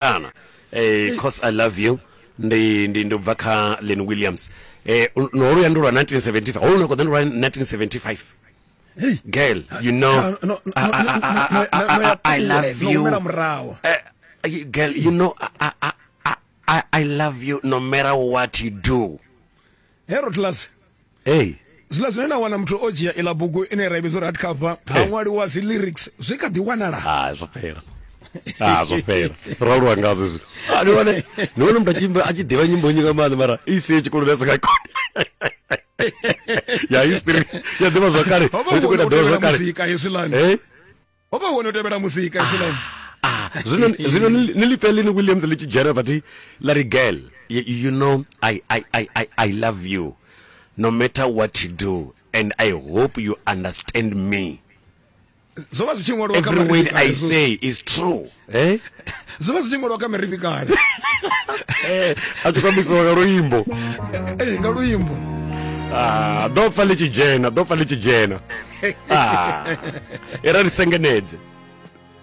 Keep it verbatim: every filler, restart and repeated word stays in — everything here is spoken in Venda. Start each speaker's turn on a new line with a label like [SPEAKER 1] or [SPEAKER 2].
[SPEAKER 1] Ana eh "Cause I Love You" ndi ndi ndi bva kha Len Williams. Eh no lu ya ndi lwa nineteen seventy-five, holu no koḓa ndi lwa nineteen seventy-five. Girl, you know
[SPEAKER 2] no, no,
[SPEAKER 1] I, I, I, I, I, I love you.
[SPEAKER 2] Humela murahu.
[SPEAKER 1] Eh, girl, you know I, I, I, I, I love you no matter what you do.
[SPEAKER 2] Hero class.
[SPEAKER 1] Hey.
[SPEAKER 2] Zwiḽa zwine na wana muthu o dzhia iḽa bugu ine ra i vhidza uri hardcover, ha ṅwaliwa dzi lyrics, zwi kha ḓi wanala.
[SPEAKER 1] Ah, zwo fhela. Ah, zwo fhela. Ro aluwa ngazwo zwino. Ah, ni wane ni wane muthu a tshi imba- a tshi ḓivha nyimbo nnzhi nga maanḓa, mara i sie tshikoloni a si nga koni. Ya history ya ḓivha zwa kale.
[SPEAKER 2] Ho vha
[SPEAKER 1] Ri tshi
[SPEAKER 2] hu
[SPEAKER 1] khou
[SPEAKER 2] hone
[SPEAKER 1] ita
[SPEAKER 2] u
[SPEAKER 1] ḓivha
[SPEAKER 2] tevhela
[SPEAKER 1] zwa kale.
[SPEAKER 2] muzika hezwiḽani.
[SPEAKER 1] Eh?
[SPEAKER 2] Ho vha hu hone u tevhela muzika hezwiḽani.
[SPEAKER 1] Ah, zwino zwino ni ni lipfe Len Williams ḽi tshi dzhena vhathi ḽa ri, "Girl, you, you know I, I, I, I, I love you no matter what you do, and I hope you understand me."
[SPEAKER 2] Zwo vha zwi tshi ṅwaliwa kha
[SPEAKER 1] Every word
[SPEAKER 2] marifhi kale
[SPEAKER 1] I
[SPEAKER 2] hezwo.
[SPEAKER 1] say is true. Eh?
[SPEAKER 2] Zwo vha zwi tshi ṅwaliwa kha mirifhi kale.
[SPEAKER 1] Eh, a tshi kwambisiwa nga luimbo.
[SPEAKER 2] Eh, nga luimbo.
[SPEAKER 1] Ah, ḓo pfa ḽi tshi dzhena, ḓo pfa ḽi tshi dzhena. Ah, i ra ri sengenedze.